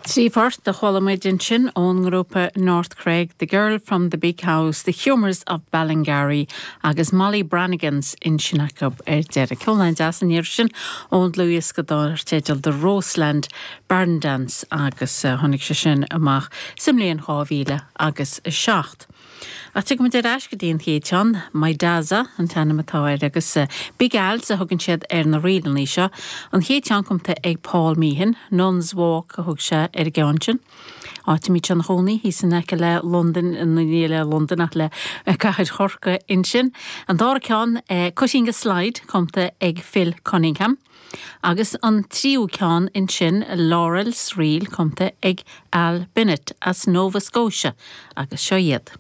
3 phort a chuala muid ansin ón ngrúpa North Cregg, The Girl from the Big House, The Humours of Ballingarry agus Molly Brannigan's ansin acu ar deireadh. Ceol an-deas an iarraidh sin ón dlúthdhiosca dar teideal The Roseland Barn Dance agus tháinig sé sin amach sa mbliain 2000 agus 7. Ach tiocfaimid ar ais go dtí an chéad cheann, Mydaza an t-ainm atá air agus Big Als a thugann siad ar na ríleanna seo. An chéad cheann cumtha ag Paul Meehan, Nuns Walk a thug sé ar an gceann sin. Áit a mbíodh sé ina chónaí, thíos in aice le Londain, ní le Londain ach le cathair Chorcaí ansin. An dara ceann, Cutting a Slide, cumtha ag Phil Cunningham. Agus an tríú ceann ansin, Laurel's Reel, cumtha ag Al Bennett as Nova Scotia, agus seo iad.